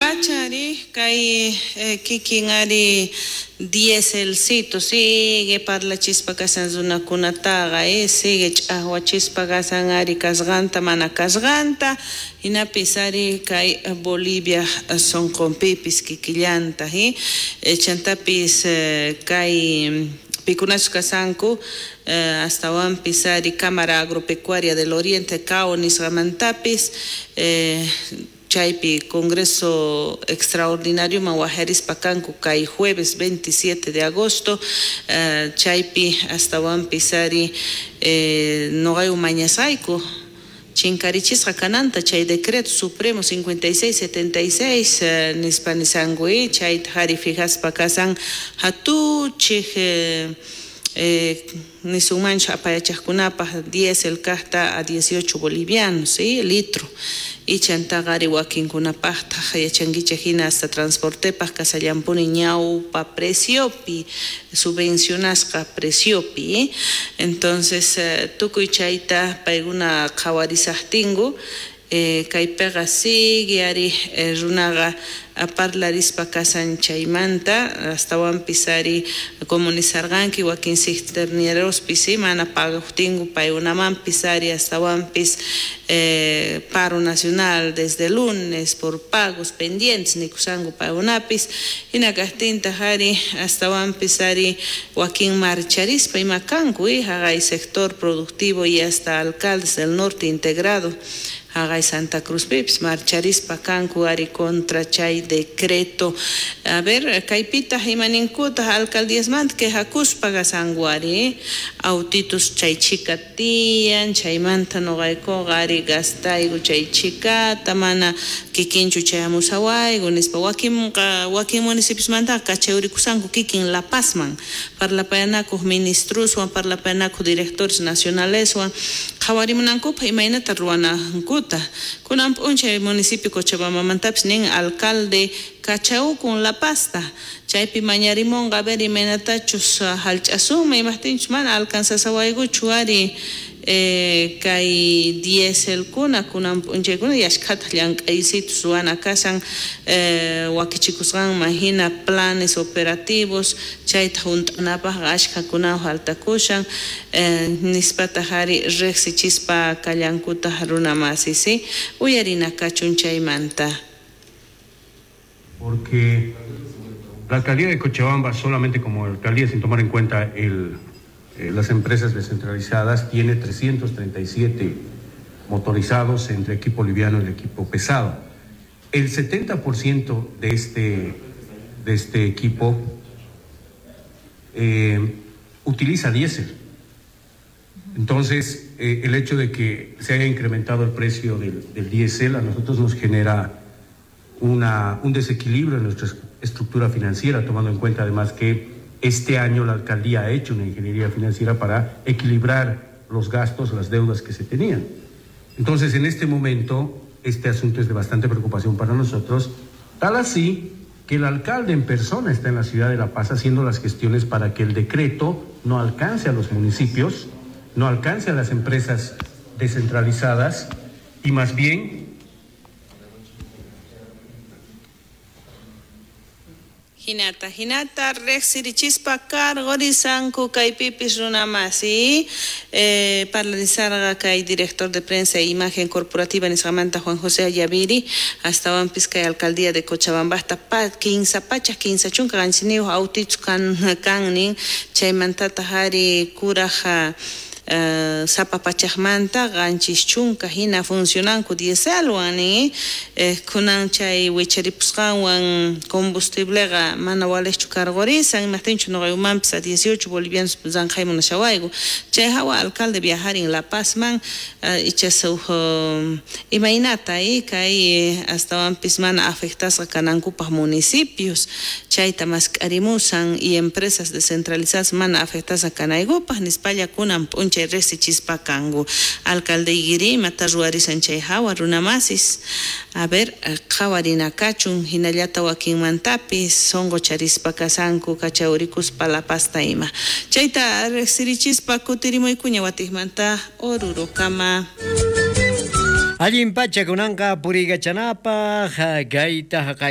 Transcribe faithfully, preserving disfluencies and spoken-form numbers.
Pachari kay eh, kikin ari dieselcito sigue parlachispa kasan runakunataqa eh, sigue ch'aqwachispa kasan ari kasqanta mana kasqanta hinapis ari kay Bolivia sonqonpipis kikillanta eh, chantapis eh, kay pikunachus kasanku eh, astawanpis ari Cámara Agropecuaria del Oriente C A O nisqamantapis eh, chaypi Congreso Extraordinario mawajarispa kanku kay jueves veintisiete de agosto eh, chaypi astawanpis ari eh, noqayku mañasayku chinkarichisqa kananta chay decreto supremo cincuenta y seis setenta y seis eh, nispa nisanku chayta hari fijaspa kasan hatuchij eh, eh, nisunmanchu apayachaqkunapaq diésel kaqta a dieciocho bolivianos, ¿sí? Litro. Y chantaqa ari wakinkunapaqtaq yachankichik hina hasta transportepaq kasallampuni ñawpa preciopi, subvencionasqa preciopi, ¿eh? Entonces, eh, tukuy chayta paykuna qhawarisaqtinku, eh, kaypiqa sigue ari eh, runaqa parlarispa kasan chaymanta astawanpis ari comunizarqanki wakin cisternerospis sí, mana pagaqtinku paykunamanpis ari astawanpis eh, paro nacional desde lunes por pagos pendientes nikusanku paykunapis hina kaqtintaq ari astawanpis ari wakin marcharispa ima kanku eh, haqay sector productivo y hasta alcaldes del norte integrado haqay Santa Cruz pipis marcharispa kanku ari contra chay decreto. A ver, kaypitaq imaninkutaq alcaldíasmanta quejakuspa kasanku ari autitos chay chika tiyan chaymanta noqaykuqa ari gastayku chay chikata mana kikinchu chayamusawayku nispa wakinqa wakin municipiosmantaqa kachayurikusanku kikin La Pazman parlapayanakuq ministroswan parlapayanakuq directores nacionaleswan qhawarimunankupaq imaynata ruwanankuta kunan p'unchay municipio Cochabambamantapis nin alcalde kachawkun La Pazta chaypi mañarimunqa a ver imaynatachus hallch'asunman imaqtinchus mana alcanzasawaykuchu ari eh, kay dieselkuna kunan p'unchaykuna yashkhataq llank'aysitus ruwana kasan eh, wakichikusqanman hina planes operativos chayta hunt'anapaqqa ashkhakunawan faltakushan eh, nispataq ari riqsichispa kallankutaq runamasi sí uyarina kachun chaymanta. Porque la alcaldía de Cochabamba, solamente como alcaldía, sin tomar en cuenta el, eh, las empresas descentralizadas, tiene trescientos treinta y siete motorizados entre equipo liviano y el equipo pesado. El setenta por ciento de este, de este equipo eh, utiliza diésel. Entonces, eh, el hecho de que se haya incrementado el precio del, del diésel a nosotros nos genera una, un desequilibrio en nuestra estructura financiera, tomando en cuenta además que este año la alcaldía ha hecho una ingeniería financiera para equilibrar los gastos, las deudas que se tenían. Entonces, en este momento, este asunto es de bastante preocupación para nosotros, tal así que el alcalde en persona está en la ciudad de La Paz haciendo las gestiones para que el decreto no alcance a los municipios, no alcance a las empresas descentralizadas y más bien Hinata, hinata, riqsirichispa cargorisanku kaypipis runamasi eh, parlarizarqa kay director de prensa e imagen corporativa nisqamanta Juan José Ayaviri astawanpis kay alcaldía de Cochabambasta pa, kinsa pachak kinsa chunka qanchiniyuq autichu kan kannin chaymantataq ari kuraja Uh, sapa pachaqmanta qanchis chunka hina funcionanku dieselwan nin eh, kunan chay wicharipusqanwan combustibleqa mana waliqchu cargorisan imaqtinchu nuqaykumanpis a dieciocho bolivianos ranqhay munashawayku chay hawa alcalde viajarin La Pazman uh, ichas uj uh, imaynata eh, kay eh, astawanpis mana afectasqa kanankupaq municipios chayta mask'arimusan y empresas descentralizadas mana afectasqa kanaykupaq nispalla kunan p'unchay riqsichispa kanku alcalde igiri imata ruwarisan chay hawa runamasis a ver qhawarina kachun hinallata wakinmantapis sonqocharispa kasanku kachawrikuspa La Pazta ima chayta riqsirichispa kutirimuykuña watiqmanta Orurokama. Allin pacha kunanqa puriykachanapaq kayta haqayta.